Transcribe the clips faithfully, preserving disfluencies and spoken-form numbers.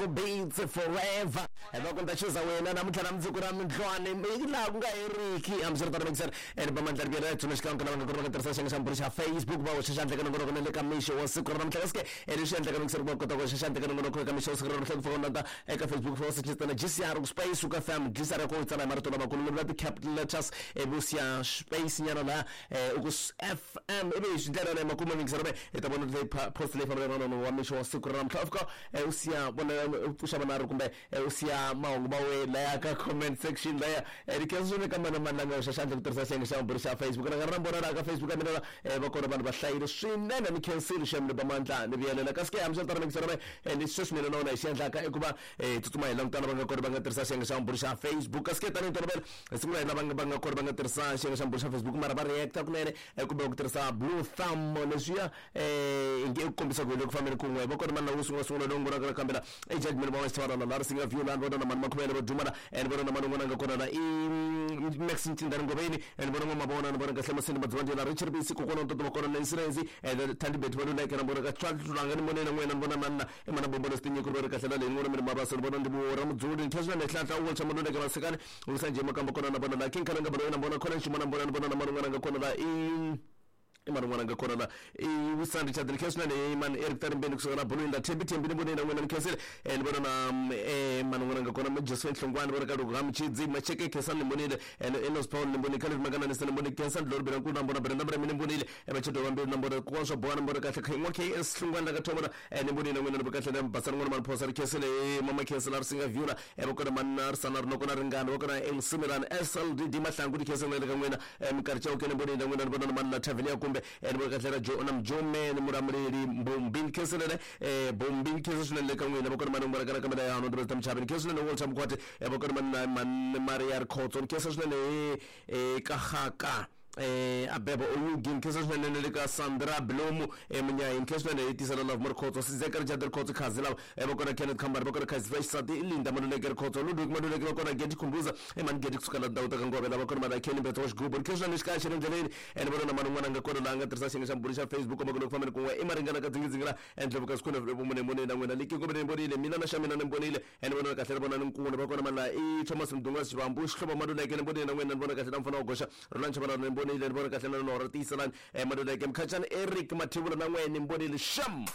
Beats forever. Loko ni ta chuza wena namuntlha na mundzuku ra mindlwane laha ku nga heriki hambiswiritano mixer ene va mandla riviyela tsuna xikan'we lava nga kona va nga tirhisa xiyenge xa mbhuri xa Facebook va hoxa xandla eka nongonoko na le ka mixo wa siku ra namuntlha kasi ke leswi endlaka mixer va kota ku hoxa xandla eka nongonoko eka mixo wa siku ra namuntlha ku fana na eka Facebook fa sechitana G C R ku space ku F M G C R ku tsala hi marito lamakulu ni vula ti-capital letters ivi u siya space nyana laha u ku F M ivi hi swi ndlela leyi makumu mixer hi ta vona leyi post leyi fambelana na wa mixo wa siku ra namuntlha u fika u siya vona pfuxa vanharhu kumbe u siya mahungu ma we laya ka comment section laya ri khensa swinene ka mani na mani la nga hoxa xandla ku tirhisa xiyenge xa mbhuri xa Facebook na nga ri na mbona laha ka Facebook ya mina va kona vanhu va hlayile swinene ni khensile xem ni ba mandla ni vuyelela kasi ke hambiswiritano mixer leswi sweswi mina na wona hi xi endlaka i ku va hi tsutsuma hi langutana va nga kona va nga tirhisa xiyenge xa mbhuri xa Facebook kasi ke tanihi ntolovelo hi sungula hi lava va nga kona va nga tirhisa xiyenge xa mbhuri xa Facebook mara va reacta kunene kumbe ku tirhisa blue thumb leswiya hi nge ku kombisa ku hi le ku fambeni kun'we va kona mani lawo sungula sungula lowu ngona kambe la i judgment va wena la ri singa view la vona na mani makhuvele va dumana and vona na mani un'wana nga kona la i Max Ntindani Ngoveni and vona n'wamavona ni vona kahle masini madzivandlela la Richard Bisi kokwana ntoto va kona Nancy Renzi and Thandi Bet va luleke na vona ka tlanga ni vona na n'wina ni vona mani na i mana bombolo sitinyiko ri kahle la leyi ni vona mina mabasa ni vona ndi ra mudzuli ni tlhela ni hlanhla u tshama luleke vasekani u sanje makamba kona na vona la King Kalanga va na vona khona ximana vona ni vona na mani un'wana nga kona la i i mani un'wana nga kona la i Wisani Richard ni khensa swinene mani Eric Tarimbeni kusuka la Bolweni la Thembi Thembi ni vone na n'wina ni khensile ni vona na mani un'wana nga kona Josephine Hlongwane ni vona ka Loko Hamchidzi Macheke Khensani ni vonile Enos Paul ni vonile Calvin Makana ni ni vonile Khensani Dlolo Bela na vona Brenda Bremi ni vonile Machedo vambirhi na vona kokwana swa boha ni vona kahle Khen'wa K S Hlongwane la ka Thomona ni vonile na n'wina ni kahle na Basani n'wana mani Phosa ri khensile Mama Khensile ri singa view la va kona mani na Risana ri noko na Ringana va kona M C Milani S L D D Mahlangu ni khensile na le ka n'wina minkarhi Chauke ni vonile na n'wina ni vona na mani la Tavenia kumbe ni vona kahle ra Jo na Mjome ni Muramuleli Mbombi ni khenselele Bombi ni khensa swinene le ka n'wina va kona mani n'wana ka kamela ya hano ndzi ta mchavi ni khensa swinene Walter Mkhwati va kona mani na mani Maria Rikhotso ni khensa swinene ka Gaka eh Abebo Oyugi ni khensa swinene le ka Sandra Blomu Munyayi ni khensa swinene hi tisela Love Rikhotso Sizeka Richard Rikhotso Khazi lava va kona Kenneth Khambari va kona Khazi Fresh Sati Linda Maluleke Rikhotso Ludwig Maluleke va kona Gedi Khumbuza Emani Gedi kusuka la ndhawu ta ka Ngove lava kona mani Kenny Mbetho wa xigubu ni khensa swinene xikaya xa le ndleleni ene vona na mani un'wana nga kona laha nga tirhisa xiyenge xa mbhuri xa Facebook komba ku loko fambeni kun'we i maringana ka dzingidzingi la endloko ka sikhona vumune mune na n'wina liki kumbe ni vonile mina na xa mina ni vonile ene vona kahle ri vona ni nkulu va kona mani la i Thomas Mdunga Xivambu Xihlovo Maluleke ni vonile na n'wina ni vona kahle na mfana wa goxa Roland Chabalala ni vonile ni vona kahle na Nora Tiyiselani Maluleke Mkhachani Eric Mathivula na n'wina ni vonile xam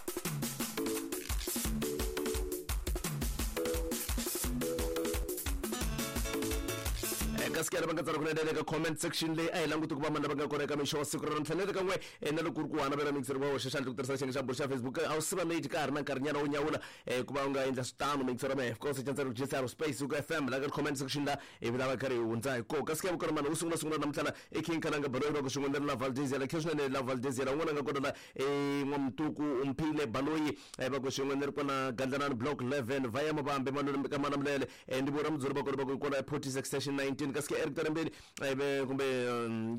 kasi ke va nga tsala kunene eka comment section leyi a hi languti ku va mani lava nga kona eka mixo wa siku ra namuntlha ni le ka n'we na loko ku ri ku hana vela mixer va hoxa xandla ku tirhisa xiyenge xa mbhuri xa Facebook a wu siva late ka ha ri na nkarhinyana wo nyawula ku va u nga endla switano mixer ra mehe of course chantsela ku G C R space ku F M la ka comment section la ivi lava karhi hi hundza hi koho kasi ke vukona mani wu sungula sungula namuntlha i King Kalanga Baloyi va ku swin'we ni la Valdezia la khe swinene la Valdezia la un'wana nga kona la N'wamtuku Umphile Baloyi va ku swin'we ni ri kona Gandlanani block eleven va ya Mavambe Maluleke ka Malamulele ndi vona mudzuri va kona va ku kona Portis extension nineteen kasi ke Eric Tarembeni kumbe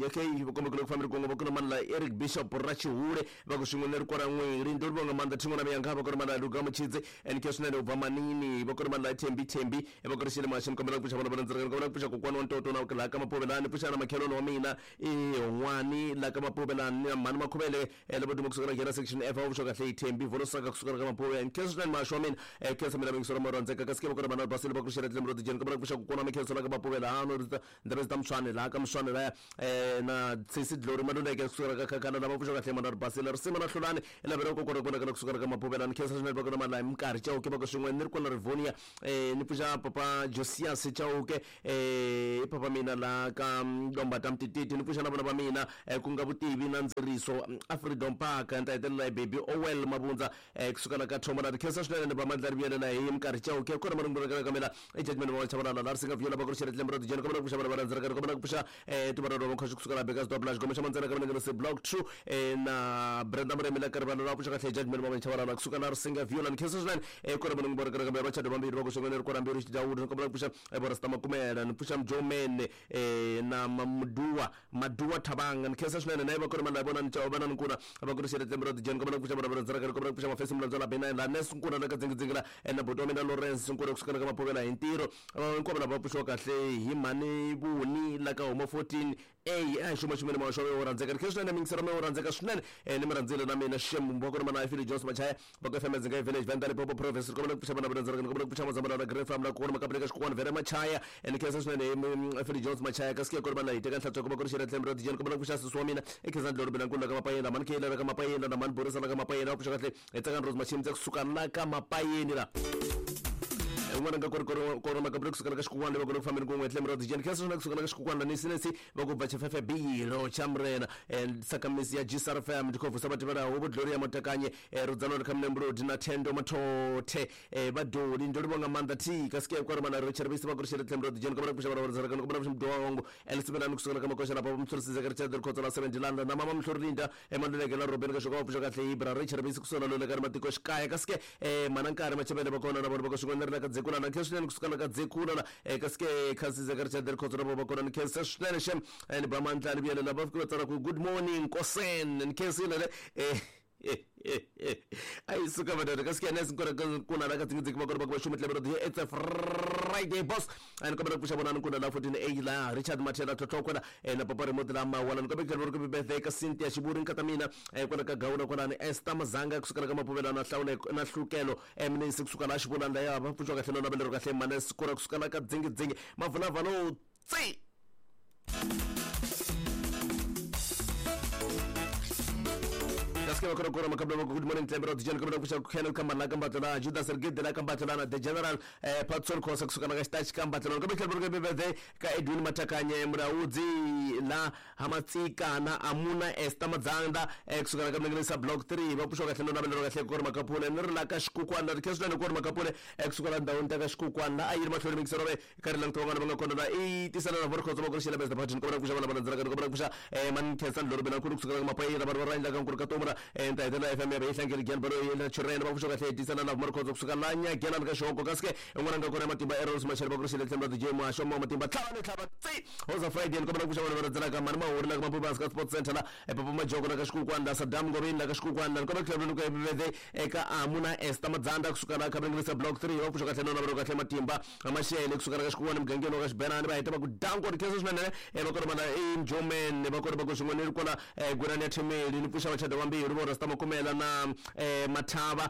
okay kumbe ku le ku fambeni kun'we va kona mani la Eric Bishop Rachihure va ku swin'we ni ri kona n'wiri ndi ri vonga mandla thin'wana miyanga va kona mani la Luka Muchidzi and ke swinene u bva manini va kona mani la Thembi Thembi va kona xile maxini kombela ku pfuxa vona vona ndzi kombela ku pfuxa kokwana wa ntoto na laha ka Mapovelani pfuxa na makhelwani wa mina i Hon'wani laha ka Mapovelani na mhani Makhuvele lava duma kusuka na nghena section F va vuxa kahle hi Thembi Volosaka kusuka ka Mapovelani ke swinene maxo wa mina khensa mina mingisoro mo rhandzeka kasi ke va kona mani Basile va ku xela tlemro dijeni kombela ku pfuxa kokwana wa mikhenso la ka Mapovelani ndzi ta Mswane laha ka Mswane laya na Sesi Glory Maluleke kusuka ka Khakhala lava pfuxa kahle mani Basile Risima na Hlulani lavela ku kona kona kana kusuka ka Mapovelani khensa swinene va kona mani la Minkarhi Chauke va ku swin'we ni ri kona Rivonia ni pfuxa papa Josias Chauke i papa mina la ka Lombata Mtititi ni pfuxa na vona va mina ku nga Vutivi na Ndzeriso a Freedom Park ni ta hetelela hi Baby Owel Mabundza kusuka la ka Thomona khensa swinene ni va mandla rivuyelela hi Minkarhi Chauke kona marungula ka kamela i judgment va Chabalala la ri singa viola va ku ri xele tlemro dijeni kombela ku pfuxa vana va rhandzeka kombela ku pfuxa tivana va khoxo kusuka la Bakers Doblage gome xa mandzana ka mina se block two na Brenda Muremi la karivana la pfuxa kahle judgment va Chabalala kusuka la ri singa viola ni khensa swinene kona marungula ka kamela va chado vambirhi va ku swin'we ni ri kona mbirhi Xidawudu ni kombela ku pfuxa Borasta Makumela ni pfuxa Mjomene na Mamuduwa Maduwa Thabanga ni khensa swinene na va kona mani la vona ni chava vana ni nkuna va ku ri xele tlemro dijeni kombela ku pfuxa vana va rhandzeka kombela ku pfuxa Mafesi Mulandzwa la Bena la Nes nkuna la ka dzingidzingi la na buti wa mina Lawrence nkuna kusuka ka Mapovela hi ntirho hinkwavo lava pfuxiwa kahle hi mhani Vuni la ka huma fourteen A a xuma xumene ma xo yo rhandzeka ri swinene mingisero me rhandzeka swinene ni mi rhandzile na mina xem va kona mana Philip Jones Machaya va ka F M Zinga Village Venda Limpopo Province kombela ku pfuxa vana va rhandzeka kombela ku pfuxa mazambana na Green Farm la kona makapeleka xikwana Vera Machaya ni khensa swinene Philip Jones Machaya kasi ke kona vana hi teka nhlatswa kuma ku ri xira tlembe ra dijeni kombela ku pfuxa sisi wa mina e khensa ndloro bela nkulu ka mapayeni mani kayela ka mapayeni na mani Borisa ka mapayeni va pfuxa kahle hi tsaka Rose Machimtse kusuka la ka mapayeni la un'wana nga kori kori makapele kusuka ka xikukwana va kona ku fambeni kun'we tlembe ra dijeni khensa swinene kusuka ka xikukwana ni sinesi va ku bva chefefe bilo chamrena and sakamisi ya G S R F M ndikhovusa vativela huvo Gloria Motakanye rudzano ri khamne na Thendo Mathothe vadoli ndo livonga maanḓa thi kasike kwa ri mana ri cherevisi va ku ri xele tlembe ra dijeni kombela ku pfuxa vana va rhandzaka kombela ku pfuxa mdongo elisibelani kusuka ka makoxa lapa mthorisi Zachary Chadri Khotso la seven Dilanda na mama Mhlorilinda emaluleke la Robeni ka xoka va pfuxa kahle Ibra ri cherevisi kusuka loleka ri matiko xikaya kasike mana nkarhi machebele va kona na vona va ka xin'wana ri la ka dzekula na khensa swinene kusuka ka dzekula la kasike khasi Zachary Chadri Khotso la va kona ni khensa swinene xem ni ba mandla ni vuyelela va fika va tsala ku good morning Kosen ni khensile le eh ai suka madada kasike nesi nkona kuna la ka tsingi va kona va ku xuma tlebero di it's a Friday boss and kombela ku pfuxa vona nkuna la fourteen A la Richard Mathela Tlhotlhokwana na papa remote la mawala ni kombela ku birthday ka Cynthia Xivuri nkata mina kwala ka Gawuna kwala ni Esther Mazanga kusuka ka Mapuvela na Hlawule na Hlukelo Eminence kusuka la Xivulanda ya va pfuxa kahle na belero kahle mana sikura kusuka la ka dzingi dzingi mavula valo tsi good morning Tlembero Dijeni kombela ku pfuxa Kenneth Kambala ka Mbatla Judas Sergei la ka Mbatla na the General Patson Khosa kusuka na ka Xitachi ka Mbatla kombela ku birthday ka Edwin Matakanye Mulaudzi la Hamatsika na Amuna Esther Madzanda kusuka ka Mlengelisa Block three va pfuxa kahle na belero kahle ku ri makapule ni ri la ka xikukwana ri khenswa ku ri makapule kusuka la ndhawini ta ka xikukwana a yi ri mahlweni mikisero ve ka ri langutiwa vana va nga kona la i tisana na vorkhotso va ku ri xela best party kombela ku pfuxa vana va rhandzaka kombela ku pfuxa man khensa ndloro bela ku kusuka ka mapayeni va va ra endla ka nkulu ka tomura enta etela F M ya behlangele gyan baro yela churena va pfuxa kahle tisana na vorkhotso kusuka la nyagela ka xoko kasike un'wana nga kona matimba errors machela va ku ri xela tlemba D J Masho ma matimba tlhava ni tlhava tsi hoza Friday kombela ku pfuxa vana va rhandzaka mani mahuri la ka Mapuvasi ka Sports Center la Papa Majoko la ka xikukwana Saddam Ngobeni la ka xikukwana kombela ku tlhela ku birthday eka Amuna Esther Madzanda kusuka la Khabengisa Block three va pfuxa kahle na va kahle matimba amashele kusuka la ka xikukwana mugangeni wa ka Xibenani va heta va ku danko ri khensa swinene va kona mana Njomen va kona va ku xin'wana ri kona Gwirani ya Themeli ni pfuxa vachada vambirhi vo Rasta Makumela na Mathava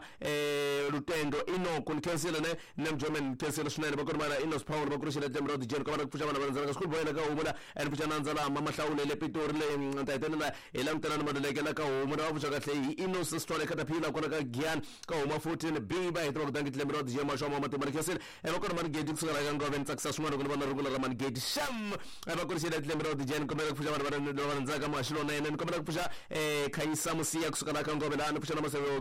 Lutendo Inoko ni khensile ne ne Njomen khensile swinene va kona mana Inos Power va ku ri xela tlembe ra Dijeni kombela ku pfuxa vana va rhandzaka school boy la ka Homu la ni pfuxa nandza la Mama Hlawule le Pitori le ta hetelela hi langutana na Maluleke la ka Homu la va pfuxa kahle hi Inos Sithole Katapila kona ka Giyani ka Huma fourteen B va heta va ku dangi tlembe ra Dijeni Masho ma matimba ni khensile va kona Manigeti kusuka la ka Ngove ni tsakisa swin'wana ku ni vona rungula ra Manigeti xam va ku ri xela tlembe ra Dijeni kombela ku pfuxa vana va rhandzaka Maxilonene ni kombela ku pfuxa Khanyisa Musiya kusuka la ka Ngove la ni pfuxa na Maseve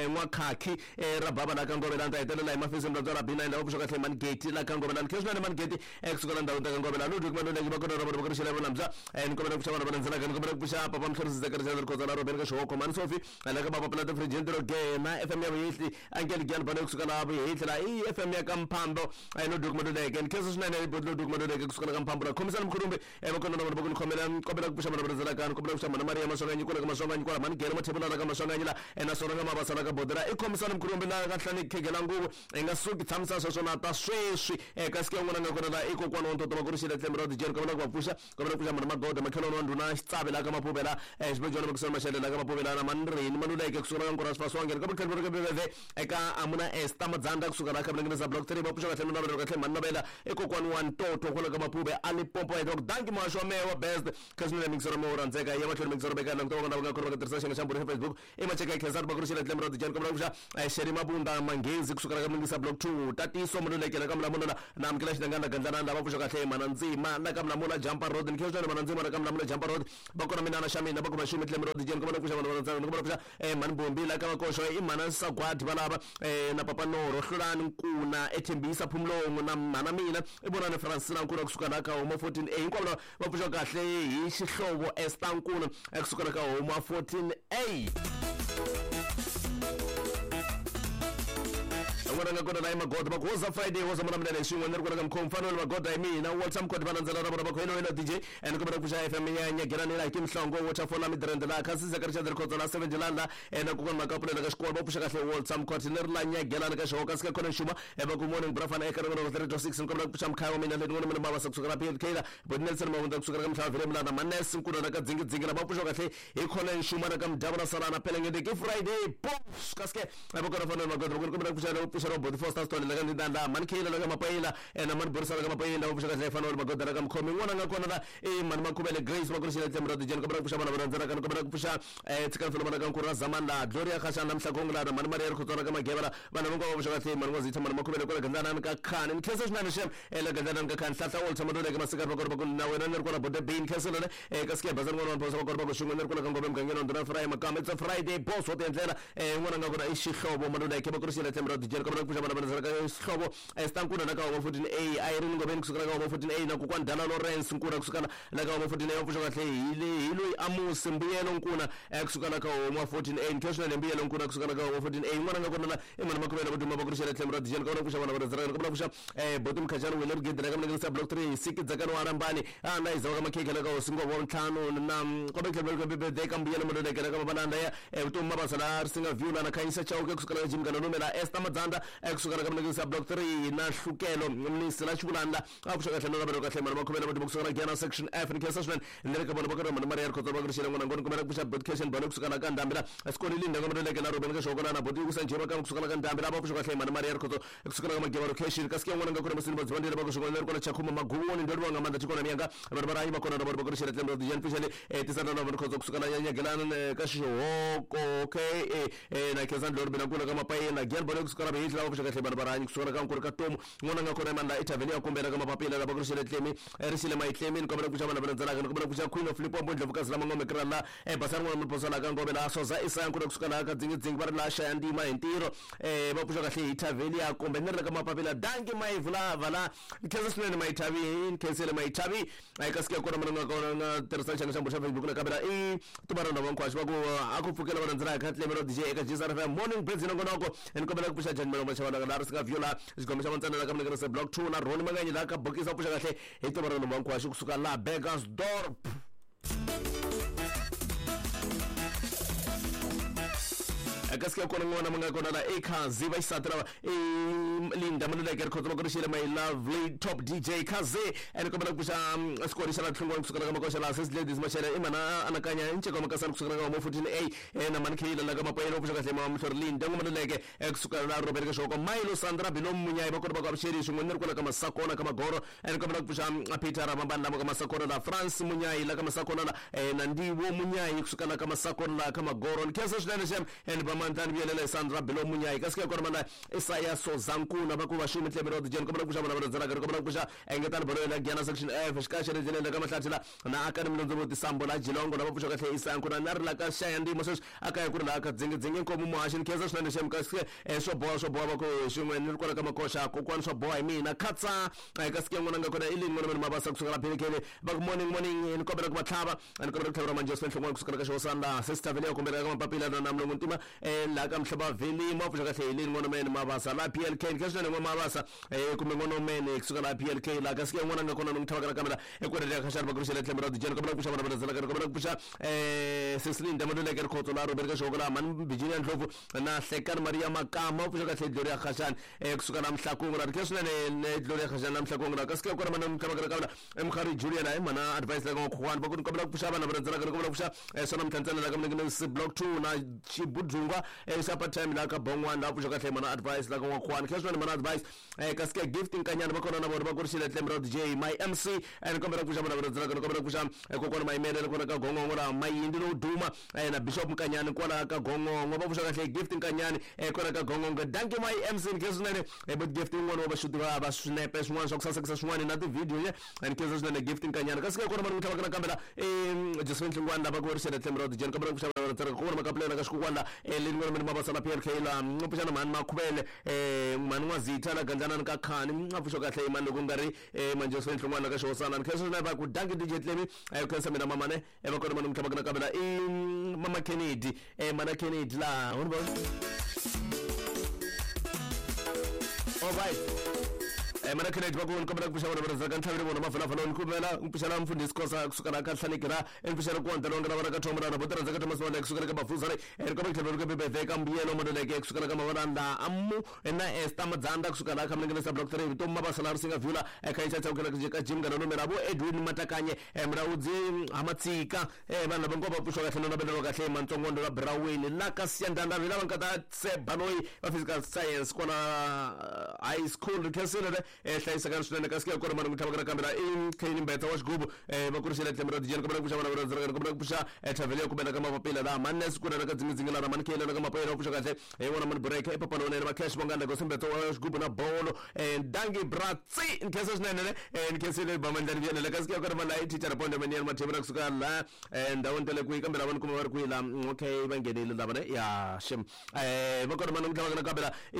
N'wakhakhi ra baba la ka Ngove la ni ta hetelela hi mafisi mlandzwa ra B nine la va pfuxa kahle Manigeti la ka Ngove la ni khensa swinene Manigeti kusuka la ndhawini ta ka Ngove la Ludwig Maluleke va kona ra vona va ku ri xela vona ni kombela ku pfuxa vana va rhandzaka ni kombela ku pfuxa Papa Mhlorisi Zachary Chadri Khotso la Robeni ka Xihoko Mani Sophie la ka Papa Plata Fridge Ntiro Gena F M ya Vuyehli Angel Gyan bana kusuka la Vuyehli la i F M ya ka Mphambo Ludwig Maluleke ni khensa swinene Ludwig Maluleke kusuka la ka Mphambo la khomisana Mkhulumbi va kona na vona va ku ni khomela kombela ku pfuxa vana va rhandzaka ni kombela ku pfuxa Mana Maria Maswanganyi kwala ka Maswanganyi kwala Mani Gere Mathebula la ka Maswanganyi la naswona ka Mabasa la ka Bodera i khomisana Mkhulumbi la ka Nhlani Khegela nguvu i nga suki tshamisa sweswo na ta sweswi kasi ke un'wana nga kona la i kokwana wa ntoto va ku ri xela tlembe ra Dijeni kombela ku va pfuxa kombela ku pfuxa Mana Magoda makhelwani wa ndhuna Xitsavi la ka Mapuvela Xibejwana Makusana Mashele la ka Mapuvela na Manrini Maluleke kusuka la ka Nkora Swifaswange kombela ku tlhela ku ri eka Amuna Esther Madzanda kusuka la ka Mlengelisa Block three va pfuxa kahle na va kahle Manavela i kokwana wa ntoto kwala ka Mapube a Limpopo ya danki Masho wa mewa best kasi ni mixero mo rhandzeka ya mahlweni mixero beka langutiwa vona va nga kona va tirhisa xiyenge xa mbhuri xa Facebook i macheka khensani va ku ri xela tlembe ra Dijeni kombela ku pfuxa Sheri Mabunda Manghezi kusuka la ka Mlengisa Block two Tatiso Maluleke la ka Mlamula na amukela Xidangana Gandlana lava pfuxa kahle Mana Ndzima la ka Mlamula Jampa Road ni khensani Mana Ndzima la ka Mlamula Jampa Road va kona mina na xa mina va ku maxumi tlembe ra Dijeni kombela ku pfuxa vana va rhandzaka kombela ku pfuxa Mani Bombi la ka Makoxo i Mana Sagwadi valava na Papa Noro Hlulani Nkuna Ethembisa Phumlongo na Mana mina i vonani Francina Nkuna kusuka la ka Huma fourteen A hinkwavo lava va pfuxa kahle hi xihlovo Esther Nkuna kusuka la ka Huma fourteen A. N'wana nga kona la Magoda va ku hoza Friday hoza mona mina leswi n'wana ri kona ka mkhomfano Fanuel Magoda hi mina Walter Mkhodi va landzela ra vona va ku hello hello D J and kombela ku pfuxa F M ya Nyagelani la Kimhlongo Waterfall la Midrand la Khasisa ka Richard Khotso la seven la ena kokwana Makapulela ka xikolo va pfuxa kahle Walter Mkhodi ni ri la Nyagelani ka xihoko kasi ka khona xuma va ku morning brafana eka rin'wana three to six kombela ku pfuxa mkhaya wa mina leti n'wana mina bava kusuka la P L K la Bo Nelson Mavunda kusuka ka Mhlava Vele Mlana Manes Nkuna la ka Dzingi Dzingi la va pfuxa kahle hi khona xuma na ka Mdava na Salana Pelengende ke Friday boss kasi va kona Fanuel Magoda va kombela ku pfuxa pfuxa Robot Foster Stone la ka Ndanda Man Khela la ka Mapayila ena man Borisa la ka Mapayila va pfuxa kahle Fanuel Magoda la ka Mkhomi n'wana nga kona la e man Makhubele Grace va kurixile Tlemra Dijeni kombela ku pfuxa vana va randzela ka kombela ku pfuxa eh tshika mfelo mana ka Nkura Zaman la Gloria Khashana Mhlakong la man Maria Khotswana ka Mageba la vana va va pfuxa kahle man Ngwazitha man Makhubele kwala Gandana ka Khani Nkhensa swinene xem ela Gandana ka Khani Hlahla Walter Madole ka Masikari va kona va ku na wena ni ri kona Bote Bean Nkhensa lona eh ka Sike Bazar n'wana va kona va ku xin'we ni ri kona ka Ngome mugangeni wa Nduna Friday Makamba it's a Friday boss wa tiendlela eh n'wana nga kona i xihlovo Madole ke va kurixile Tlemra Dijeni kombela ku pfuxa vana va randzela ka xihlovo Stankuna na ka Homa fourteen A Irene Ngobeni kusuka ka Homa fourteen A na kokwana Dala Lawrence Nkuna kusuka la ka Homa fourteen A va pfuxa kahle hi le hi loyi Amusi Mbuyelo Nkuna kusuka la ka Homa fourteen A Nkhensa na Mbuyelo Nkuna kusuka la ka Homa fourteen A n'wana nga kona la i mana Makhubele va duma va kurixile Tlemra Dijeni kombela ku pfuxa vana va randzela kombela ku pfuxa eh Boti Mkhajana Wele Rigidi la ka Mlengisa Block three Siki Dzakani wa Rambani a na Izawa ka Makhekhe la ka Hosi Nghovo wa ntlhanu na kombela ku tlhela birthday ka Mbuyelo Madole ka Mabalanda ya Vutomi Mabasa la Risinga View la na Khanyisa Chauke kusuka la ka Jim Kanolume la Esther Madzanda kusuka la ka Mlengisa Block three na Hlukelo Mnisi la Xivulanda a pfuxa kahle na kahle mana Makhubele va duma kusuka la Gyana Section F Nkhensa swinene ni ri ka vona va ka mana Maria Khotso va kurixile n'wana ngoni kombela ku pfuxa broadcast bano kusuka la ka Ndhambi la Sikoni Linda ka Madole la Ruben ka Xihoko la na Boti ku Sanjema ka kusuka la ka Ndhambi la va pfuxa kahle mana Maria Khotso kusuka la ka Mageba location kasi ke n'wana nga kona Masini Badzibandile va ku xin'wana ri kona Chakhuma Maguvuni ndo ri nga mandla chikona miyanga vanhu va rayi va kona va kurixile Tlemra Dijeni pfuxele tisana na vanhu Khotso kusuka la Nyagelana ka Xihoko okay eh na Khensa Ndlori bina kula ka Mapayela Gyana bano kusuka la Behitla va pfuxa kahle vanhu va rayi kusuka la ka Nkuri ka Tomu n'wana nga kona mandla ethaveni ya kumbela ka Mapapila la va kurixile Tlemi risile Mayitlemi ni kombela ku pfuxa vana va landzelaka ni kombela ku pfuxa Queen of Limpopo Ndlovukazi la Mangome Krala eh Basani n'wana Mphosala ka Ngome la Soza Isaya Nkuna kusuka la ka Dzingi Dzingi va ri la Xaya Ndima hi ntirho eh va pfuxa kahle hi thaveni ya kumbe ni ri ka Mapapila danki Mayivula vala Nkhensa swinene Mayithavi Nkhensele Mayithavi kasi ke kona mana nga kona nga tirhisa xanga xa xa Facebook na kamera i tumara na vankhwaxi va ku a ku pfukela va landzela ka Tlemelo D J eka G S R F M morning birds nongonoko ni kombela ku pfuxa Jani Malomba xa la Risinga View la xigombe xa Mantsana la ka Mlengisa Block two na Roni Manganyi la ka Bokisa pfuxa kahle hi tumara na vankhwaxi kusuka la Burgersdorp. Kasi ke kona n'wana nga kona la Ekhazi va xisati lava Linda Maluleke Rikhotso va kurixile my lovely top D J Khazi and kombela ku pfuxa xikolo xa la Tlhungwana kusuka la ka Makoxa la Sis Ladies Machela i mana anakanya Nceka Makasana kusuka la ka Homa fourteen A na Man Khila la ka Mapayela pfuxa kahle mama Mhlori Linda Maluleke kusuka la Robert Kashoko Milo Sandra Bilom Munyayi va kona va ku avuxeri swin'we ni ri kwala ka Masakona ka Magoro and kombela ku pfuxa Peter Ramambani la ka Masakona la France Munyayi la ka Masakona la na Ndiwo Munyayi kusuka la ka Masakona la ka Magoro Nkhensa swinene xem and va Mandlani Vuyelela Sandra Bilo Munyayi kasi ke kona mana Isaya Sozankuna va ku va xumi Tlemelo Dijeni kombela ku pfuxa vana va randzela kombela ku pfuxa Engetani Bolo la Gyana Section F xikaxe ri ndlela ka Mahlathi la na Akani Mlondzo Tisambo la Jilongo la va pfuxa kahle Isaya Nkuna na ri la ka Xaya Ndimo sweswi akaya ku ri la ka Dzingi Dzingi Nkomo Muhaxi Nkhensa swinene xem kasi ke swo boha swo boha va ku xin'we ni ri kwala ka Makoxa kokwani swo boha hi mina khatsa kasi ke n'wana nga kona i lini n'wana mina Mabasa kusuka la Phelekele va ku morning morning ni kombela ku va tlhava ni kombela ku tlhavela Manjosfe Nhlongwane kusuka la ka Xihosana Sister Vele ya kombela ka Mapapila na Mlungu Ntima la ka Mhlaba Veli ma pfuxa kahle hi lini n'wana mene Mabasa la P L K Nkhensa swinene n'wana Mabasa eh kumbe n'wana mene kusuka la P L K la kasi ke n'wana nga kona ni n'wi tlhava kamera ekwere ya Khashana va kurixile Tlemra Dijeni kombela ku pfuxa vana va landzela kombela ku pfuxa eh Cecilinda Madole ka Rikhotso la Robert Kashoko la Man Virginia Ndlovu na Hlekani Maria Makama pfuxa kahle Gloria Khashana eh kusuka la Mhlakungu la Nkhensa swinene Gloria Khashana la Mhlakungu la kasi ke kona mana n'wi tlhava kamera Emkhari Julian la mana advice la ka Khwani va ku kombela ku pfuxa vana va landzela kombela ku pfuxa sona Mthantsana la ka Mlengisi Block two na Chibudunga xa part time la ka Bongwana la pfuxa kahle mana advice la ka N'wakhwani Nkhensa swinene mana advice kasi ke Gift Nkanyana va kona na vona va kurixile Tlemra D J my M C and kombela ku pfuxa vana va landzela kombela ku pfuxa kokwana Mayimele kona ka Gongongo la Mayindi lowu duma na Bishop Nkanyani kwala ka Gongongo va pfuxa kahle Gift Nkanyani kona ka Gongongo danki my M C Nkhensa swinene but Gift n'wana wa vaxuti va va swinepe swin'wana swa ku sasekisa swin'wana na ti-video ye Nkhensa swinene Gift Nkanyani kasi ke kona va n'wi tlhava na kambela Josephine Hlongwane lava ku rixile Tlemra D J kombela ku pfuxa vana va landzela kona Makapulela ka Xikukwana leni n'wana mina Mabasa la P L K la pfuxana mhani Makhubele mhani N'wazitha la Gandlanani ka Khani a pfuxa kahle mani loko nga ri Manjosfe Nhlongwane ka Xihosana Nkhensa swinene va ku danki D J Tlemi khensa mina mamane va kona mani n'wi tlhava na kambela i Mama Kennedy mana Kennedy la All right. Eh mana khenedi va ku ni kombela ku pfuxa vona va rhandzaka ntlhavelo vona mafalafala ni kombela ku pfuxela mfundhisi Khosa kusuka la ka Hlaneki ra ni pfuxela ku wandela nga va ka Thoma ra bo rhandza ka Thomas Maleke kusuka ka Bafuzare ni kombela ku tlhela ku bebeve ka mbuyelo Maluleke kusuka ka Mavalanda Amu na Esther Madzanda kusuka la ka Mlengele Block three Vutomi Mabasa la Risinga Vula eka Intsha Chauke la ka Jim Ngana Nomera vo Edwin Matakanye Mulaudzi Hamatsika vanhu lava ngo va pfuxiwa kahle na va kahle Mantsongondo la Braweni la ka Siyandanda lava nga ta Tseba loyi va physical science kona high school khensile hlayiseka swinene kasi ku kona mani ku tlhava ka kambela i Kane Mbetsa wa xigubu va kurisela tlhelo ra dijeni kombela ku pfuxa vana va rhandzaka kombela ku pfuxa thavele ya kumela ka mapapila la manes ku na ka dzingidzingi la mani kele ka mapapila va pfuxa kahle hi vona mani break e papa lona va cash vonganda ko Mbetsa wa xigubu na bolo dangi bratsi nkhensa swinene nkhensile ba mandlani vyena kasi ku kona mani teacher ponde mani ya mathebela kusuka la ndhawini ta le kwihi kambe lava ni kuma va ri kwihi la okay va nghenile lava ne ya shem eh va kona mani ku tlhava ka kambela i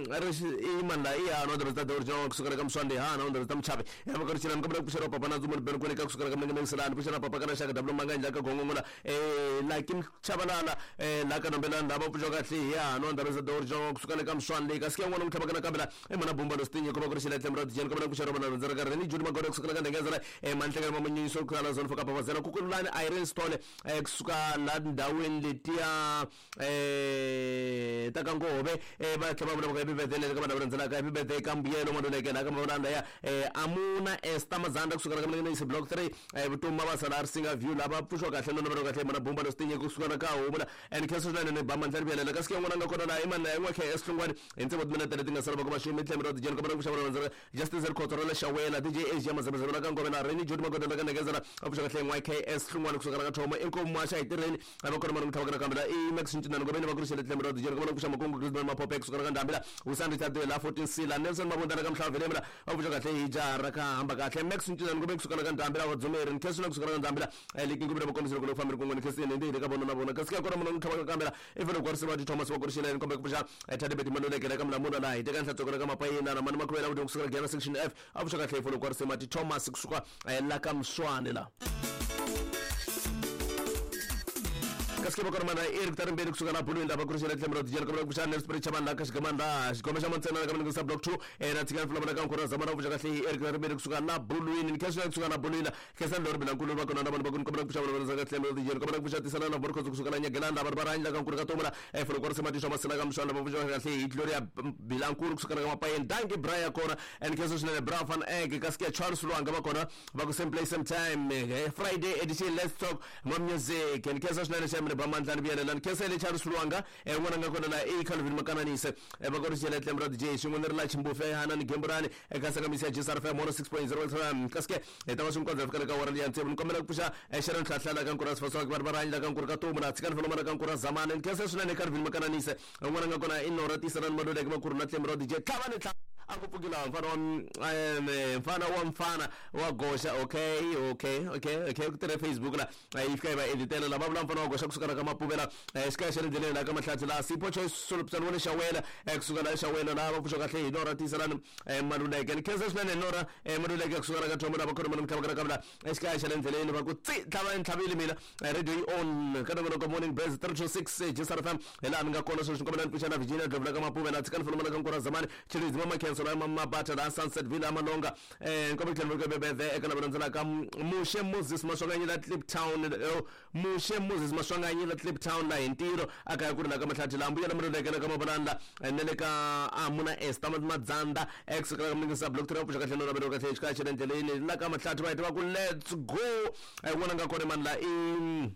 i mani la i ya no the original kusuka ka Mswande ha na ndzi ta mchavi ya va kurisela kombela ku pfuxela papa na Ndzumuni Ben Kwene ka kusuka ka Mlengele Selani pfuxela papa kana Shaka W Manganja ka Gongongola eh la Kim Chabalala eh la ka Nombela ndaba pfuxa kahle ya no ndzi the original kusuka ka Mswande ka siya n'wana ku tlhava ka kambela e mana Bumba lo Stinye kombela kurisela tlhelo ra dijeni kombela ku pfuxela vana rhandza ka Reni Judy Magore kusuka ka Ndengezela eh Manhlekela Mamunyiso ku la zone for Papa Zela kukulani Irene Stone eh kusuka la ndhawini letiya eh ta ka Ngove eh va tlhava vula ka bibedele ka vana rhandzela ka bibedele ka mbuyelo Maluleke la ka Mavalanda ya eh Amuna Esther Mazanda kusuka ka Mlengele Block three eh Vutomi Mabasa la Risinga View lava pfuxiwa kahle no va kahle mana Bumba lo Stinye kusuka ka Hobula and khensa swinene ne ba mandla rivela ka siya n'wana nga kona la imana ya n'wa K S Hlongwane hi ntsevo timinete leti nga sala va ku maxumi tlhelo ra dijeni kombela ku pfuxa vana rhandzela Justice Rikhotso ra le Xawela D J Asia Mazamazama la ka Ngove na Reni Judy Magoda la ka Ndengezela a pfuxa kahle n'wa K S Hlongwane kusuka ka Thoma inkomu Masha hi tirheni a va kona mani ku tlhava ka kambela i Max Ncinana Ngobeni va kurisele tlhelo ra dijeni kombela ku pfuxa Makungu Grisman Mapope kusuka ka Ndambila Usandi Tadela la fourteen C la Nelson Mabunda ka Mhlavelemla va pfuxa kahle hi jaha ra ka hamba kahle Max Ncinana Ngobeni kusuka ka Ndambila va Dzumeri Nkhensa kusuka ka Ndambila leki ngubira vakombisa loko fambiri kun'we Nkhensa ndi le ka vona na vona kasi ka kona munhu tlhava ka kambela i fanele ku warisiwa ti Thomas va kurisele ni kombe ku pfuxa Thadebeti Maluleke la ka Mlamula la hi teka nhlatsoko la ka Mapayina na mani Makhuvela ku kusuka ka Section F a pfuxa kahle i fanele ku warisiwa ti Thomas kusuka la ka Mswane la kasi ke va mana Eric Tarimbeni kusuka la Bulwini lava kurisela tlhelo ra dijeni kombela ku pfuxa Nelson Spirit Chabani la ka Xigamani xigome xa Mantsena ka Mlengele Block two eh na tshikana fula ka Nkura Zamana pfuxa kahle Eric Tarimbeni kusuka la Bulwini ni khensa kusuka la Bulwini khensa lori Bilankulu va kona na vanhu va ku kombela ku pfuxa vana va ka tlhelo ra dijeni kombela ku pfuxa Tisana na Borkhozo kusuka la Nyagelanda va va rhandla ka Nkura ka Tomula eh funa ku risa Matisha Masela ka Mshwana va pfuxa kahle hi Gloria Bilankulu kusuka ka Mapayeni danki Brian kona and khensa swinene Bra van Egg kasi ke Charles Lwanga va kona va ku same place same time Friday edition let's talk more music and khensa swinene xa ba mandlani vuyela ni khensele Charles Lwanga eh n'wana nga kona la e Calvin Makananise eh va korisela tlhelo ra D J xin'we ni ri la Chimbufe hana ni Gemburani eka saka misi ya G S R F M one oh six point zero F M kasi ke hi ta va swi nkondzo fika le ka wara liya ntsevu ni kombela ku pfuxa Sharon Tlhatlhala ka Nkura Sifaswa va va rhandla ka Nkura ka Tomu la tshikani fana ka Nkura Zamani ni khensa swinene Calvin Makananise n'wana nga kona i Nora Tisana Maluleke va kurhula tlhelo ra D J tlhava ni tlhava a ku pfukile mfana wa mfana wa mfana wa goxa okay okay okay okay ku tirhe Facebook la yi fika yi va editela lava vula mfana wa goxa kusuka ka Mapuvela xikaya xa le ndleleni la ka Mahlatsi la Sipho Choice Solopsana wa le Xawela kusuka la Xawela la va pfuxa kahle hi Nora Tisalani Maluleke ni khensa swinene Nora Maluleke kusuka ka Thoma la va khona mana mtlhava ka kavula xikaya xa le ndleleni va ku tsi tlhava ntlhavile mina radio yi on ka nongonoko morning buzz three two six G S R F M hi laha mi nga kona sweswi kombela ni pfuxa na Virginia Dlovula ka Mapuvela tshikani fana mana ka Nkura Zamani Chilidzi Mama Khensa la Mabata la Sunset Villa Malonga eh nkombela tlhelo ka bebeve eka lava landzelaka Mushe Moses Maswanganyi la Kliptown Mushe Moses Maswanganyi la Kliptown la hi ntirho a kaya ku ri la ka Mahlathi la Mbuyelo Maluleke la ka Mavalanda na le ka Amuna Esther Madzanda ex ka Mlengisa Block three pfuxa kahle no na kahle xikaya xa le ndleleni la ka Mahlathi va heta va ku let's go n'wana nga kona mani la i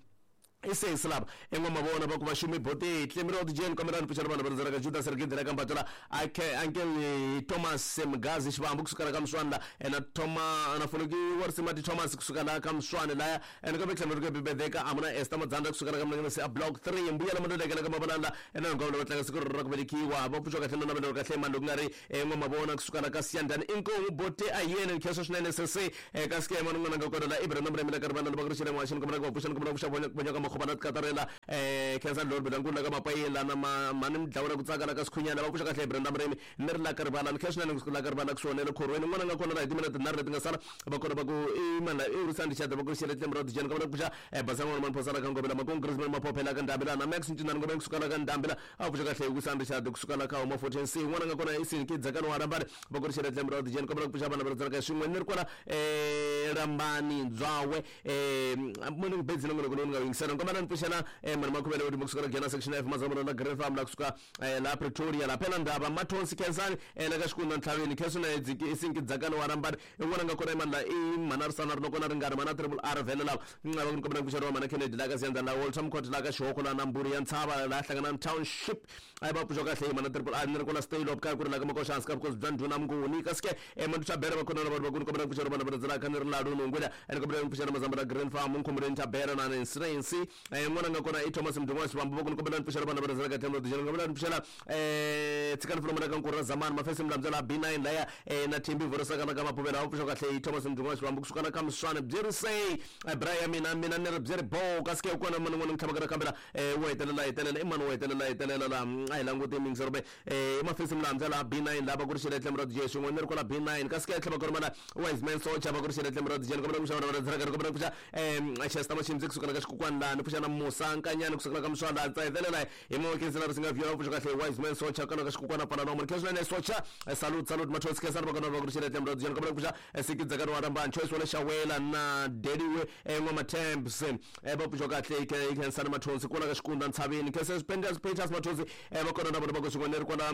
isesi lava en'we mavona va ku va xumi bote tlhelo ra D J kombela ni pfuxela vanhu va rhandzaka Judas Rigidi la ka Mbatela Uncle Thomas Mgazi Xivambu kusuka ka Mswana la na Thoma na Foloki wa Risimati Thomas kusuka la ka Mswana la ene ka tlhelo ri bebedeka Amuna Esther Madzanda kusuka ka Mlengele se Block three Mbuyelo Maluleke la ka Mavalanda ene ngombe va tlanga siku ra ku velekiwa va pfuxa kahle na vanhu kahle mani loko nga ri en'we mavona kusuka la ka Siyandani inkomu bote a yena khensa swinene sese ka skema n'wana nga kona la Ibrahim Mremela ka rivana va ku ri xile n'waxini kombela ku pfuxa kombela ku pfuxa vonya Makhoba na Tikatarela eh Khensa Lord Bilankulu la ka Mapayela na mani Mdlawula ku tsaka la ka Sikhunyana va pfuxa kahle Brenda Mremi ni ri la ka Rivala ni Khesna ni la ka Rivala ku swona le khorweni n'wana nga kona la hi timinete tinharhu leti nga sala va kona va ku i mana i Rusandi Chada va ku xele Tlemra Dijeni ka va ku pfuxa Basanga n'wana Phosala ka Ngobela Makong Griezmann Maphophela ka Ndambela na Max Ncinani Ngobela kusuka la ka Ndambela a pfuxa kahle Rusandi Chada kusuka la ka Homa fourteen C n'wana nga kona i Sinki Dzakani wa Rambani va ku xele Tlemra Dijeni ka va ku pfuxa vana va rhandzaka swin'we ni ri kwala eh Rambani Ndzwawe eh muni bedzi na ngolo nga yingisela ngoma na pfuxela eh mani Makhuvele uri kusuka la Gena section F Mazamura la Grey Farm la kusuka la Pretoria la phela ndaba Mathonsi Khensani la ka Xikunda Ntlhaveni Khensani Dziki Sinki Dzakani wa Rambani n'wana nga kona imani la i Manarisana ri kona ringari mana triple R vele la nga va kombela ku xerwa mana Kennedy la ka Ziyanda la Walter Court la ka Xihoko la Namburi ya Ntshava la hlangana township ai va pfuxa kahle mana triple R ni ri kona stay up ka ku ri la ka Makoxansi ka because bya ndhuna Mnguni kasi ke Mandu Chabera va kona va ku kombela ku xerwa mana va ka ni ri la Lunungwela ene kombela ku pfuxela Mazambara Green Farm Nkhombereni Chabera na Nsirensi n'wana nga kona i Thomas Mdungwa Xivambu va ku kombela ku pfuxela vana va rhandzela ka Themba Dijeni kombela ku pfuxela eh Tsikani Fulomana ka Nkura Zamani Mafesi Mlamdzela B nine laya na Thembi Vorosaka na ka Mapuvela va pfuxa kahle i Thomas Mdungwa Xivambu kusuka na ka Mswana Byerisei Brian mina mina ni ri byeri bo kasi ke kona mana n'wana ntlhava ka kambela wo hetelela hetelela i mani wo hetelela hetelela la a hi languti mingisero be eh Mafesi Mlamdzela B nine lava ku ri xele Themba Dijeni swin'we ni ri kwala B nine kasi ke tlhava ku ri mana Wise Man Socha va ku ri xele Themba Dijeni kombela ku pfuxa vana va rhandzela ka kombela ku pfuxa eh Chester Machimzi kusuka la ka Xikukwana la ni pfuxa na Musa Nkanyani kusuka la ka Mswanda tsa hetelela hi mo Khensani ri singa view pfuxa kahle Wise Man Socha kana ka Xikukwana pfala no Khensani ne Socha salute salute Mathonsi Khensani va kona va ku ri xele Themba Dijeni kombela ku pfuxa Sikidza Dzakani wa Rambani Choice wala Xawela na Deliwe Ngoma Temps va pfuxa kahle Khensani Mathonsi kwala ka Xikunda Ntshaveni Khensani Peters Peters Mathonsi va kona na vona va ku swin'we ni ri kwala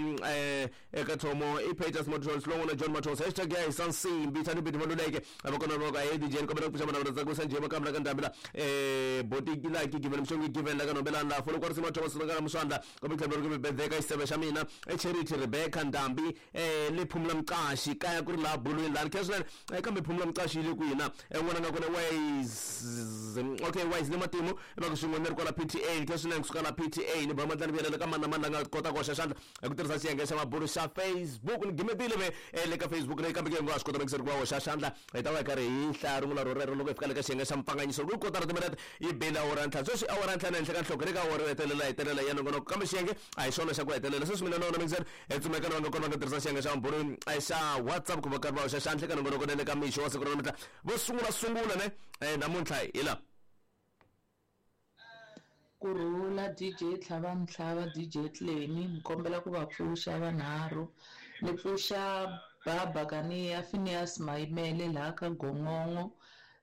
eka Thomo i Peters Mathonsi lon'wana John Mathonsi hashtag ya hi Sansimbi Thani Bidi Maluleke va kona va ku a D J kombela ku pfuxa vana va rhandza ku sanje va kambela ka Ndambela eh Botiki la ki given Mshongi given la ka Nombelana la folo kwa Sima Thomas la ka Mswanda kombela ku tlhela ku bedzeka xiseve xa mina e Charity Rebecca Ndambi eh le Phumula Mqashi kaya ku ri la bulweni la Khensani kambe Phumula Mqashi le kwina n'wana nga kona Wise okay Wise le Matimu va ku swin'we ni ri kwala P T A Khensani kusuka la P T A ni ba mandlani vuyela ka mana mana nga kota ku hoxa xandla hi ku tirhisa xiyenge xa mabulu xa Facebook ni gimetile ve le ka Facebook leyi kambe ke nga swi kota ku ku va hoxa xandla hi ta va hi karhi hi hlaya rungula ro rero loko hi fika le ka xiyenge xa mpfanganyiso ku kotara timinete yi bile awara ntlhanu sweswi awara ntlhanu henhla ka nhloko ri ka awara yo hetelela hetelela ya nongonoko kambe xiyenge a hi xona xa ku hetelela sweswi mina na wona mingiseri hi tsumeka na va nga kona va nga tirhisa xiyenge xa mabulu xa WhatsApp ku va karhi va hoxa xandla ka nongonoko na le ka mixo wa siku ra namuntlha vo sungula sungula ne namuntlha hi la Kurhula D J Tlhava Mhlava D J Clemi ni kombela ku va pfuxa vanharhu ni pfuxa Baba Kaniya Phineas Mayimele laha ka Gongongo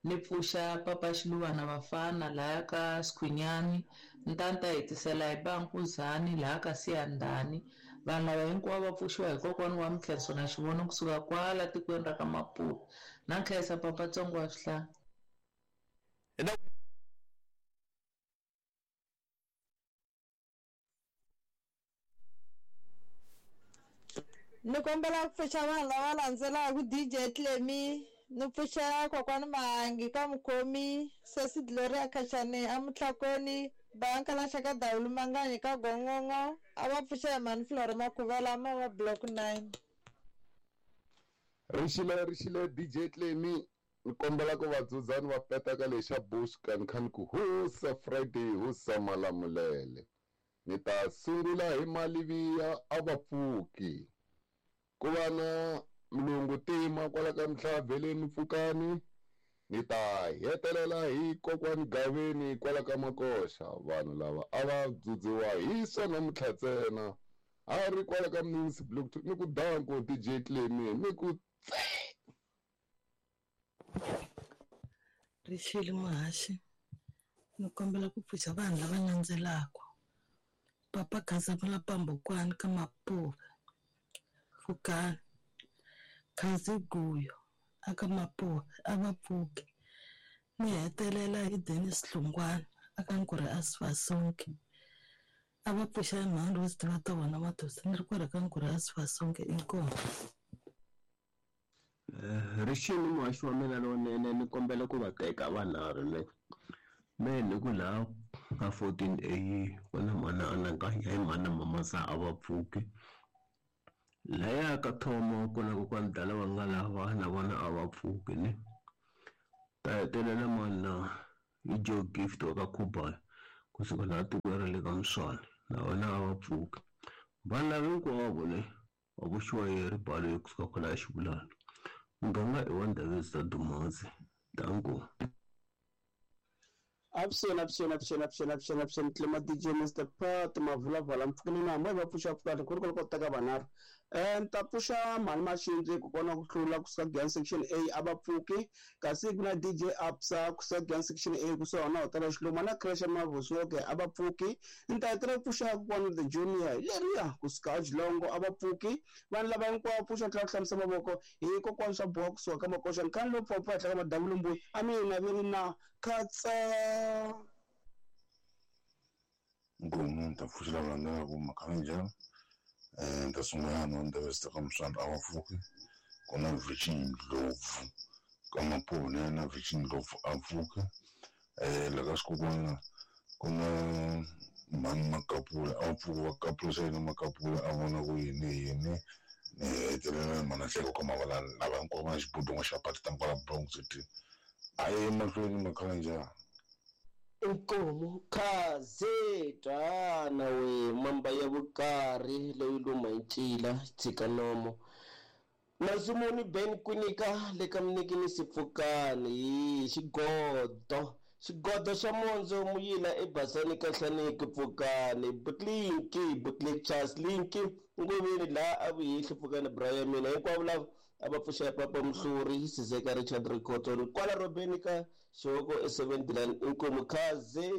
ni pfuxa Papa Xiluvana Vafana laha ka Skhwinyani Ntanta hetisela hi Bankuzani laha ka Siyandhani vanhu lava hinkwavo va pfuxiwa hi kokwana wa Mkhenso na Xivono kusuka kwala tikweni ra ka Maputo na nkhensa Papa Tsongo wa Swihlahla. Ni kombela ku pfuxa vanhu lava landzelaka D J Clemi ni pfuxa kokwani Mahangi ka Mukhomi Sesi Gloria Khachane amutlhakoni Banka ka Dawulu Manganyi ka Gongongo a va pfuxa hi Mani Flora Makhuvela ma wa block nine. Rixile rixile D J Clemi ni kombela ku va dzudza ni va peta ka lexa Bush kan khan ku husa Friday husa Malamulele ni ta sungula hi Maliviya a va pfuki ku va na Mlungu Tima kwala ka Mhlaveleni Pfukani ni ta hetelela hi kokwani Gaveni kwala ka Makoxa vanhu lava a va dzudziwa hi swona namuntlha ntsena a ri kwala ka Mnisi Block ni ku danko D J Clemi ni ku Rixile Muhaxi ni kombela ku pfuxa vanhu lava landzelaka Papa Khazamula Pambukwani ka Mapuve Pfukani Khazi Guyo aka Mapuve a va pfuki ni hetelela hi Dennis Hlungwana aka Nkuri Asifasonke a va pfuxa mhani ro tiva ta vona matosi ni ri kwala ka Nkuri Asifasonke inkomu. Rixile Muhaxi wa mina lowunene ni kombela ku va teka vanharhu ne me ni ku laha ka fourteen A ku na mana anakanya hi mana Mamasa a va pfuki laya ka Thomo ku na kokwani Dala va nga lava na vona a va pfuki ne ta hetelela mana hi Joe Gift wa ka Khuba Kusuka laha tikweni ra le ka Muswana na vona a va pfuki. Vanhu lava hinkwavo le va pfuxiwa hi ribalo kusuka kwalaya Xivulana. Muganga i wa Ndhavezitha Dumadzi. Danko. Avuxeni avuxeni avuxeni avuxeni avuxeni avuxeni Tlema D J Mister Pat Mavulavala mpfukeni na hambi va pfuxa pfukani ku ri ku teka vanharhu. Eh ni ta pfuxa mhani Maxindzi kokwana ku hlula kusuka Giyani section A a va pfuki kasi ku na D J Absa kusuka Giyani section A kusuka na hotela Xiluma na Crash Mavusoke a va pfuki. Ni ta hetelela ku pfuxa kokwana the Junior leriya kusuka Jilongo a va pfuki. Vanhu lava hinkwavo pfuxa tlhela ku hlambisa mavoko hi kokwana swa boha kusuka ka Makoxa nkhani lowu pfapfa henhla ka madavulumbuyi a mina vi ri na khatsa. Nkomu ni ta pfuxela landzelaka makhaninjhani um ni ta sungula na Ndhavezitha ka Muswana a va pfuki ku na Virgin Ndlopfu ka Mapone na Virgin Ndlopfu a pfuki um la ka xikokwana ku na mhani Makapula a va pfuki va kapulisa yini Makapula a vona ku yini yini ni hetelela mhani Hleko ka Mavalani lava hinkwavo va na xibudun'wa xa pati ta kwala Bronx City a ye emahlweni makhaninjhani. Inkomu khaze twana we mamba ya vukarhi leyi luma hi ncila tshika nomo Mazumuni Ben Kwinika le ka Mnikini Sipfukani hi xigodo xigodo xa mondzo muyila ebasani ka Hlaniki Pfukani Butlinki Butlik Charles Linki ngoveni laha a vuhehli Pfukani Brian mina hinkwavo lava a va pfuxa papa Mhluri Sizeka Richard Rikotoni kwala Robeni ka Xihoko e seventy-nine inkomu khaze.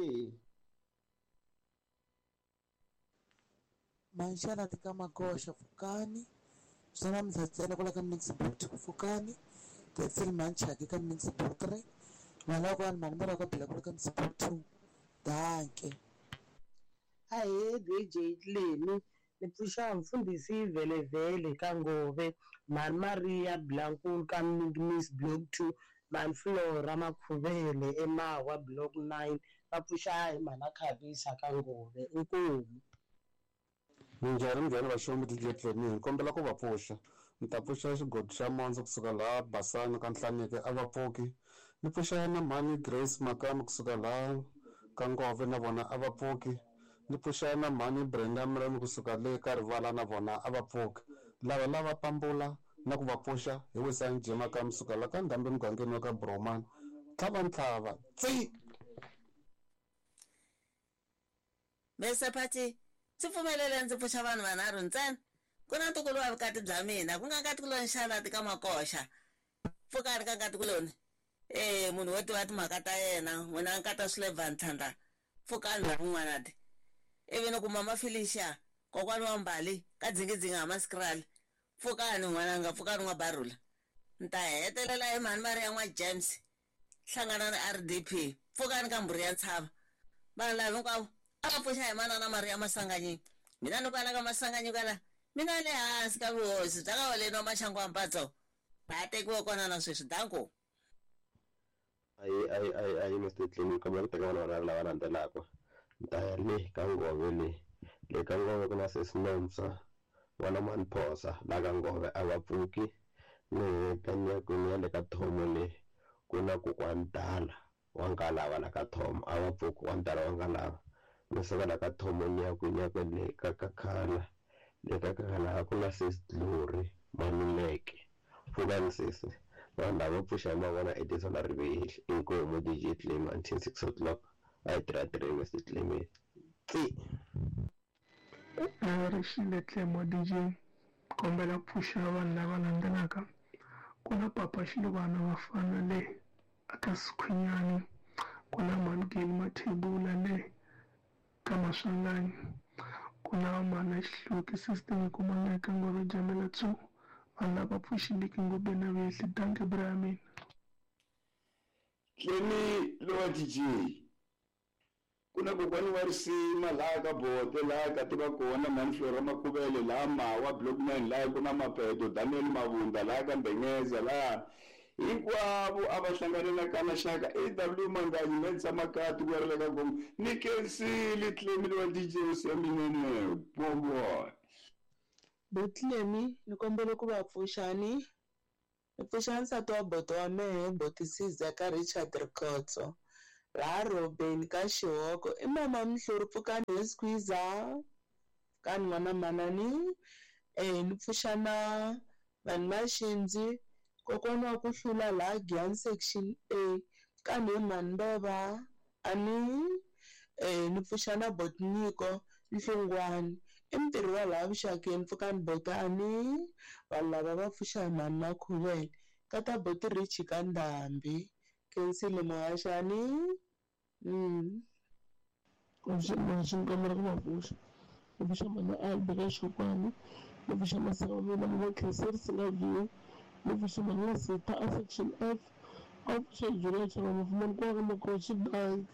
Manxana tika Magoxa Pfukani swa namuntlha ntsena kwala ka Mnix Block two Pfukani Tetsel Manchaki ka Mnix Block three Mhani wa mhani mara ka Bila kwala ka Mnix Block two. Danke. Ahee D J Tlemi ni pfuxa mfundhisi Velevele ka Ngove mhani Maria Blankulu ka Mnix Block two mhani Flora Makhuvele eMawa Block nine va pfuxa hi mhana Khavisa ka Ngove. Inkomu. Minjhani minjhani vaxomi D J Tlemi hi kombela ku va pfuxa ni ta pfuxa xigodi xa mondzo kusuka laha Basani ka Nhlaniki a va pfuki ni pfuxa na mhani Grace Makami kusuka laha ka Ngove na vona a va pfuki ni pfuxa na mhani Brenda Mremi kusuka le ka Rivala na vona a va pfuki lava lava pambula na ku va pfuxa hi Wisani J Makami kusuka la ka Ndhambi mugangeni wa ka Bromani tlhava ntlhava tsi Mister Pati ndzi pfumelele ndzi pfuxa vanhu vanharhu ntsena ku na ntukulu wa vukati bya mina ku nga nkatikuloni Xalati ka Makoxa pfukani ka nkatikuloni e munhu wo tiva timhaka ta yena n'wina nkata Swilevhan Ntlhandla pfukani la kun'wana ti ivi ni ku mama Felicia kokwani wa Mbali ka dzingidzingi ha Maskrali pfukani n'wananga pfukani n'wa Barula ni ta hetelela hi mhani Maria n'wa James hlangana na R D P pfukani ka mbhuri ya ntshava vanhu lava hinkwavo a va pfuxa hi manana Maria Masanganyi mina ni kwala ka Masanganyi kwala mina le hansi ka vuhosi bya ka Holeni wa Maxangu wa Mpatso va tekiwe kona na sweswi. Danko. Ayi ayi ayi ayi Mister Tlemi kombela ku teka vanhu vanharhu lava landzelaka ni ta ya le ka Ngove le le ka Ngove ku na sesi Nomsa n'wana mhani Phosa la ka Ngove a va pfuki ni heta ni ya kwini ya le ka Thomo le ku na kokwani Dala wa Nkalava la ka Thomo a va pfuki wa Dala wa Nkalava ni suka la ka Thomo ni ya kwini ya kwele ka Kakhala le ka Kakhala ku na sesi Glory Maluleke pfukani sesi vanhu lava pfuxa hi mavona Edison Rivehli inkomu D J Tlemi until six o'clock a hi tirha three Mister Tlemi tsi. Rixile Tlemo D J kombela ku pfuxa vanhu lava landzelaka ku na papa Xiluvana vafana le aka Sikhwinyani ku na mhani Geli Mathebula le ka Maswanganyi ku na mhana Xihluki system kumanga eka Ngove Jamela two vanhu lava pfuxileki ngopfu na vehli. Danke bra ya mina. Tlemi lowa D J ku na kokwani wa risima laha ka Bote laha ka tiva kona mhani Flora Makhuvele laha Mawa Block nine laha ku na Mapeto Daniel Mavunda laha ka Mbenyeza laha hinkwavo a va hlanganela ka Maxaka A W Manganyi Mensa Makati ku ya ri le ka Gomo ni kensile Tlemi lowa D J hosi ya minene bobo. Butlemi ni kombela ku va pfuxani ni pfuxa nsati wa boto wa mehe Boti Sizeka Richard Rikhotso Laha Robeni ka Xihoko i mama Mhluri pfukani he squeezer pfukani n'wana manani eh ni pfuxa na vanhu va xindzi kokwana wa ku hlula laha Giyani section A pfukani he mhani Mbeva ani eh ni pfuxa na Botniko Nhlungwani i mutirhi wa laha vuxakeni pfukani botani vanhu lava va pfuxa hi mhani Makhuvele ka ta boti Richie ka Ndhambi khensile muhaxani mm. Muhaxi ni kombela ku va pfuxa ni pfuxa mhani Albi ka Xokwani ni pfuxa masana wa mina mama Khensani Singaview ni pfuxa mhani Lasita a section F a pfuxa Julia Chava Mafumani kwala ka Makoxi bank.